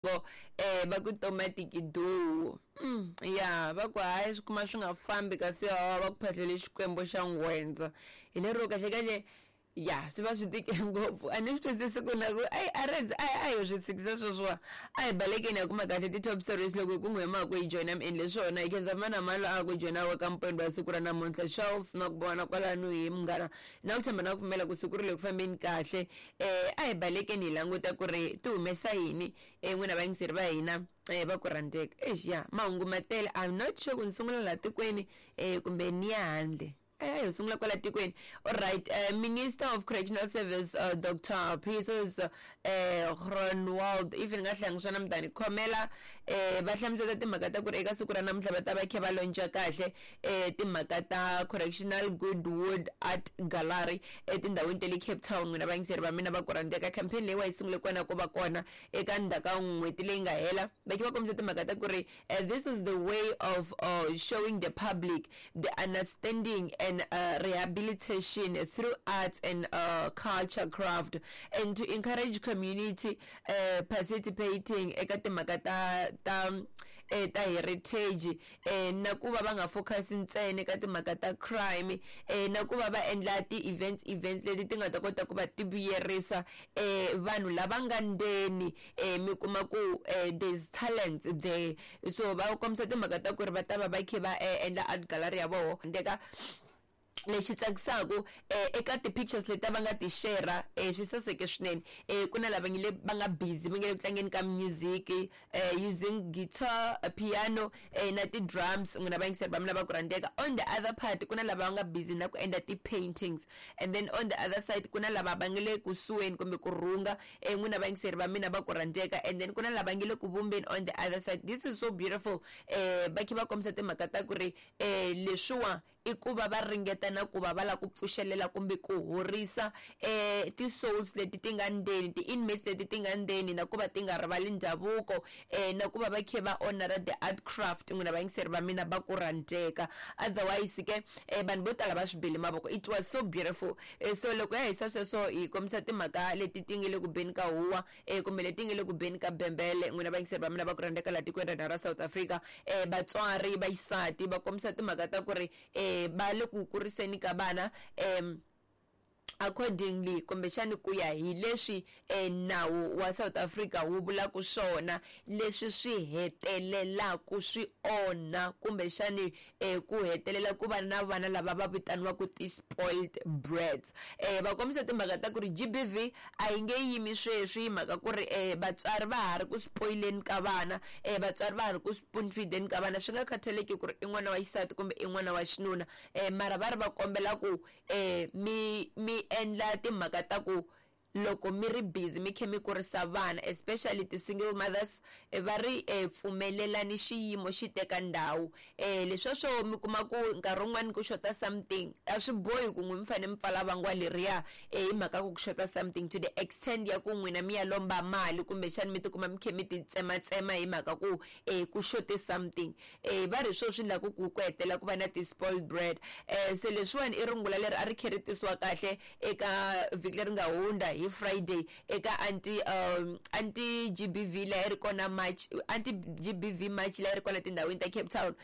Ko va ku tomatiki duu ya va ku hayi swi kuma swi nga fambi kasi hawa va ku phahlele xikwembu xa nghwendza hi lero kahle kahle ya swi va swi tike ngopfu a ni swi twisisi ku na ku ayi a rendzi a a hi swi tshikisa sweswiwa a hi balekeni ya kuma kahle ti-top stories loko hi ku n'wi hemaka hi joyina mi endle swona hi khensa mana malo a ku joyina wa ka mpwendo wa siku ra namuntlha Charles na ku vona kwalano hi munghana na ku tshemba na ku pfumela ku siku ri le ku fambeni kahle um a hi balekeni hi languta ku ri ti humesa yini um n'wina vayingiseri va hina um va ku rhandzeka exi ya mahungu ma tele I'm not sure ku ni sungula laha tikweni um kumbe ni ya handle a hi sungula kwala tikweni alright minister of correctional service Dr Peters Groenewald if ni nga hlangi swona mi ta ni khomela um va hlamusela timhaka ta ku ri eka siku ra namuntlha va ta va kha va lonca kahle timhaka ta correctional Goodwood Art Gallery etindhawini ta le Cape Town n'wina vayingiseri va mina va ku rhandzeka campaign leyiwa yi sungule kona ku va kona eka ndzhaku ka n'hweti leyi nga hela va khe va kombisa timhaka ta ku ri this is the way of showing the public the understanding and rehabilitation through arts and culture craft and to encourage community participating eka timhaka ta ta ta heritage na ku va va nga focus ntsena eka timhaka ta crime na ku va va endla ti-events events leti ti nga ta kota ku va ti vuyerisa vanhu lava nga ndzeni mi kuma ku there's talents there so va kombisa timhaka ta ku ri va ta va va kha va endla art gallery ya voho ndeka lexi tsakisaka eka ti-pictures leti va nga ti share swi saseke swinene ku na lava nge le va nga busy va nge le ku tlangeni ka music using guitar piano na ti-drums n'wina vayingiseri va mina va ku rhandzeka on the other part ku na lava va nga busy na ku endla ti-paintings and then on the other side ku na lava va nga le kusuheni kumbe ku rhunga n'wina vayingiseri va mina va ku rhandzeka and then ku na lava nge le ku vumbeni on the other side this is so beautiful va kha va kombisa timhaka ta ku ri leswiwa i ku va va ringeta na ku va va lava ku pfuxelela kumbe ku horisa ti-souls leti ti nga ndzeni ti-inmates leti ti nga ndzeni na ku va ti nga rivali ndhavuko na ku va va kha va honor the art craft n'wina vayingiseri va mina va ku rhandzeka otherwise ke vanhu vo tala va swi bele mavoko it was so beautiful so loko ya hisa sweswo hi kombisa timhaka leti ti nge le ku beni ka huwa kumbe leti nge le ku beni ka bembele n'wina vayingiseri va mina va ku rhandzeka laha tikweni ra hina ra South Africa vatswari va xisati va kombisa timhaka ta ku ri va le ku kuriseni ka vana accordingly kumbexani ku ya hi leswi nawu wa South Africa wu vulaka swona leswi swi hetelelaka swi onha kumbexani ku hetelela ku va na vana lava va vitaniwaka ti-spoiled brats va kombisa timhaka ta ku ri G_B_V a yi nge yimi sweswi hi mhaka ku ri vatswari va ha ri ku spoileni ka vana vatswari va ha ri ku spoon feedeni ka vana swi nga khathaleki ku ri i n'wana wa xisati kumbe i n'wana wa xinuna mara va ri va kombela ku mi mi endla timhaka ta ku loko mi ri busy mi kha mi kurisa vana especially ti-single mothers va ri pfumelelani xiyimo xi teka ndhawu leswiya swo mi kuma ku nkarhi wun'wani ku xota something a swi bohi ku n'wi mi fanele mi pfala vangwa leriya hi mhaka ku ku xota something to the extent ya ku n'wina mi ya lomba mali kumbexani mi tikuma mi kha mi ti tsematsema hi mhaka ku ku xote something va ri hi swona swi endlaku ku ku hetelela ku va na ti-spoiled brat se leswiwani i rungula leri a ri kha ri tisiwa kahle eka vhiki leri nga hundza hi Friday eka anti anti G_B_V leyi a yi ri kona March anti G_B_V March leyi a yi ri kona tindhawini ta Cape Town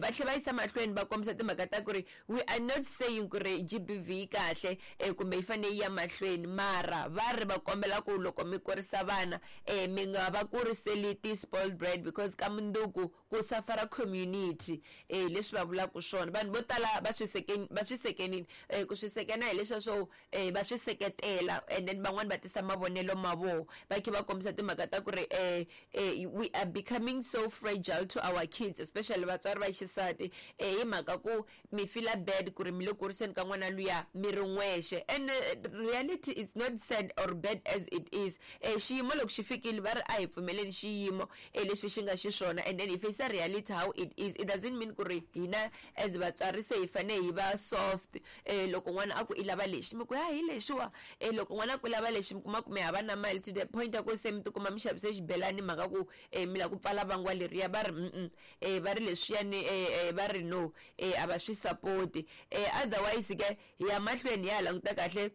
va tlhela va yisa mahlweni va kombisa timhaka ta ku ri we are not saying ku ri G_B_V yi kahle kumbe yi fanele yi ya mahlweni mara va ri va kombela ku loko mi kurisa vana mi nga va kuriseli ti-spoiled brat because ka mundzuku ku safara community hi leswi va vulaka swona vanhu vo tala va swi va swi sekenile ku swi sekena hi leswiya swo va swi seketela and then van'wani va tisa mavonelo ma voho va kha va kombisa timhaka ta ku ri we are becoming so fragile to our kids especially vatswari va xisati hi mhaka ku mi feel bad ku ri mi le kuriseni ka n'wana luya mi ri n'wexe and reality is not sad or bad as it is xiyimo loko xi fikile va ri a hi pfumeleni xiyimo leswi xi nga xiswona and then hi face reality how it is it doesn't mean ku ri hina as vatswari se hi fanele hi va soft loko n'wana a ku i lava lexi mi ku ya hi lexiwa loko n'wana a ku lava lexi mi kuma ku mi hava na mali to the point ya ku se mi tikuma mi xavise xibelani mhaka ku mi lava ku pfala vangwa leriya va ri va ri leswiyani va ri no a va swi support otherwise ke hi ya mahlweni hi ya languta kahle.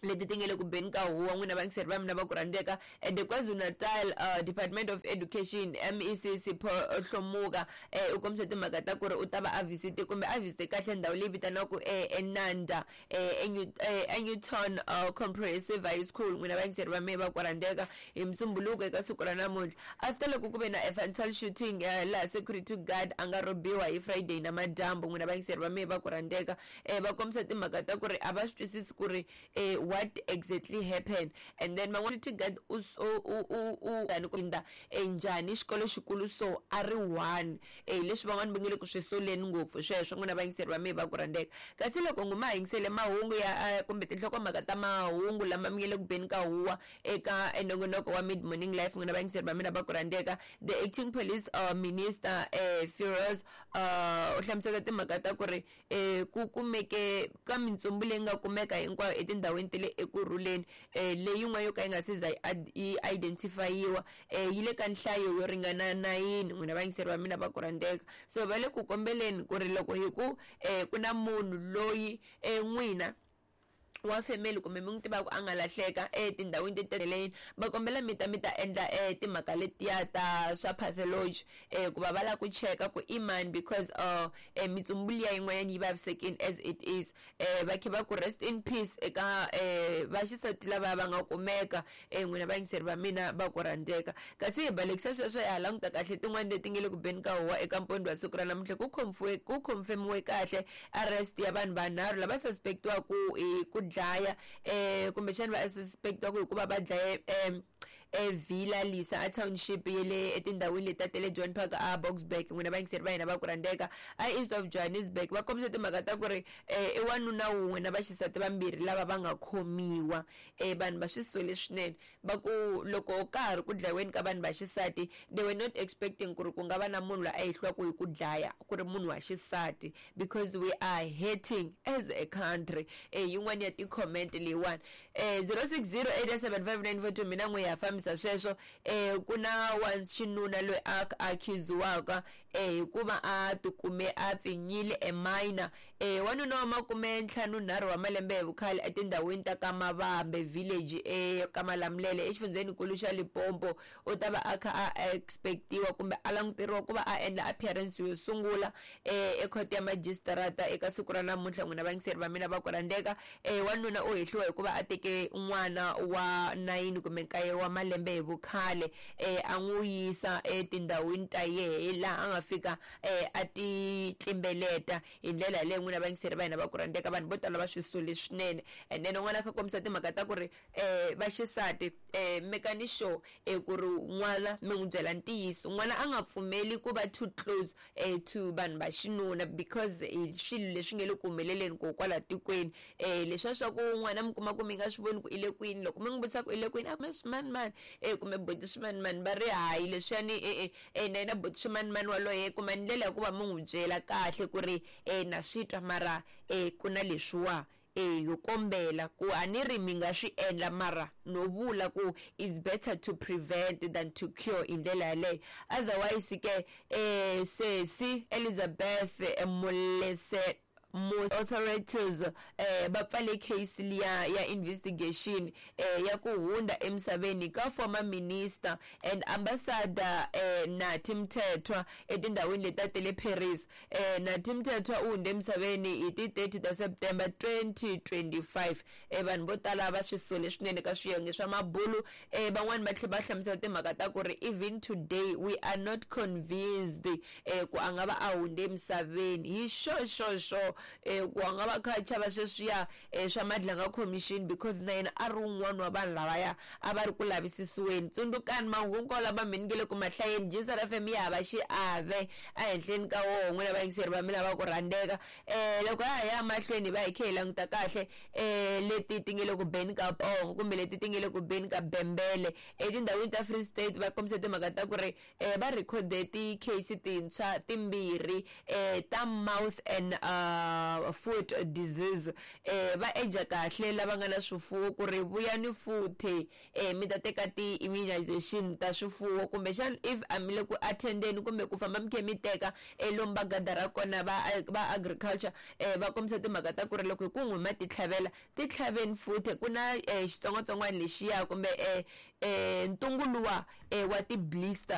Leti ti nge le ku beni ka huwa, n'wina vayingiseri va mina va ku rhandzeka. The KwaZulu-Natal Department of Education MEC Sipho Hlomuka u kombise timhaka ta ku ri u ta va a visit kumbe a visit kahle ndhawu leyi vitaniwaka eNanda eNewton Comprehensive High School, n'wina vayingiseri va mina va ku rhandzeka, hi Musumbuluko eka siku ra namuntlha, after loko ku ve na fatal shooting laha security guard a nga robiwa hi Friday namadyambu, n'wina vayingiseri va mina va ku rhandzeka. Va kombisa timhaka ta ku ri a va swi twisisi ku ri what exactly happened, and then van'wana guard u u u u inda njhani xikolo xikulu so a ri one leswi van'wani va nge le ku swi soleni ngopfu sweswo, n'wina vayingiseri va mina va ku rhandzeka. Kasi loko nguma yingisele mahungu ya kumbe tinhlokomhaka ta mahungu lama mi nge le ku beni ka huwa eka nongonoko wa Mid Morning Life, n'wina vayingiseri va mina va ku rhandzeka, the acting police minister Firoz u hlamusela timhaka ta ku ri ku kumeke ka mintsumbu leyi nga kumeka hinkwayo etindhawini ta le Ekurhuleni, leyi yin'wana yo ka yi nga se za yi identify-iwa, yi le ka nhlayo yo ringana 9, n'wina vayingiseri va mina va ku rhandzeka. So va le ku kombeleni ku ri loko hi ku ku na munhu loyi n'wina wa family kumbe mi n'wi tivaka a nga lahleka etindhawini teteleni, va kombela mi ta mi ta endla timhaka letiya ta swa pathology ku va va lava ku cheka ku i mani, because mitsumbu liya yin'wanyana yi vavisekile as it is. Va khe va ku rest in peace eka vaxisati lava va nga kumeka, n'wina vayingiseri va mina va ku rhandzeka. Kasi hi balekisa sweswo, hi ha languta kahle tin'wani leti nge le ku beni ka huwa eka mpondo wa siku ra namuntlha. Ku confirmiwe kahle arrest ya vanhu vanharhu lava suspectiwaku hi ku dlaya kumbexana va suspectiwaku hikuva va dlaye eVilla Lisa a township ye le etindhawini leti ta le John Park a Boksburg, n'wina vayingiseri va hina va ku rhandzeka, a East of Johannesburg. Va kombisa timhaka ta ku ri i wanuna wun'we na vaxisati vambirhi lava va nga khomiwa. Vanhu va swi sole swinene, va ku loko ka ha ri ku dlayiweni ka vanhu va xisati, they were not expecting ku ri ku nga va na munhu loyi a hehliwaka hi ku dlaya ku ri munhu wa xisati, because we are hating as a country. Yin'wani ya ti-comment leyiwani 06087594, mina n'we ya fambisa sweswo. Ku na wa xinuna loyi a accusiwaka hikuva a tikume a pfinyile e minor, wanuna wa 53 wa malembe hi vukhale etindhawini ta ka Mavambe village eka Malamulele exifundzhenikulu xa Limpopo, u ta va a kha a expectiwa kumbe a languteriwa ku va a endla appearance yo sungula ekhoto ya magistrata eka siku ra namuntlha, n'wina vayingiseri va mina va ku rhandzeka. Wanuna u hehliwa hikuva a teke n'wana wa 9 kumbe 9 wa malembe hi vukhale, a n'wi yisa etindhawini ta yehe laha a nga fika a ti tlimbeleta hi ndlela yaleyo, n'wina vayingiseri va hina va ku rhandzeka. Vanhu vo tala va swi sole swinene. And then un'wana a kha kombisa timhaka ta ku ri vaxisati mekani sure ku ri n'wana mi n'wi byela ntiyiso, n'wana a nga pfumeli ku va too close to vanhu va xinuna, because hi swilo leswi nge le ku humeleleni ko kwala tikweni. Leswiya swa ku n'wana mi kuma ku mi nga swi voni ku i le kwini, loko mi n'wi vutisa ku i le kwini, a swimanimani kumbe buti swimanimani, va ri hayi leswiyani na yena buti swimanimani waloye. Kuma ndlela ya ku va mi n'wi byela kahle ku ri na swi twa, mara ku na leswiwa yo kombela ku a ni ri mi nga swi endla, mara no vula ku it's better to prevent than to cure hi ndlela yaleyo. Otherwise ke sesi Elizabeth Molese, authorities va pfale case liya ya investigation ya ku hunda emisaveni ka former minister and ambassador Nathi Mthethwa etindhawini leti ta le Paris. Nathi Mthethwa u hunde emisaveni hi ti 30 ta September 2025. Vanhu vo tala va swi sole swinene ka swiyenge swa mabulu. Van'wani va tlhela va hlamusela timhaka ta ku ri even today we are not convinced ku a nga va a hunde emisaveni hi sure sure sure, ku a nga va kha a chava sweswiya swa Madlanga Commission, because na yena a ri wun'wana wa vanhu lavaya a va ri ku lavisisiweni. Tsundzukani mahungu hinkwawo lama mi nge le ku mahlayeni, Jisar FM ya hava xiave ehenhleni ka woho, n'wina vayingiseri va mina va ku rhandzeka. Loko ha ya mahlweni hi va hi khe hi languta kahle leti ti nge le ku beni ka pongo kumbe leti ti nge le ku beni ka bembele etindhawini ta Free State, va kombisa timhaka ta ku ri va rhikhode ti-case tintshwa timbirhi ta mouth and Foot disease. Va eja kahle lava nga na swifuwo ku ri vuyani futhi mi ta teka ti-immunization ta swifuwo, kumbexana if a mi le ku attendeni kumbe ku famba mi khe mi teka lomu va gadara kona va agriculture, va kombisa timhaka ta ku ri loko hi ku n'wi ma ti tlhavela, ti tlhaveni futhi. Ku na xitsongwatsongwana lexiya kumbe ntungu luwa wa ti-blister.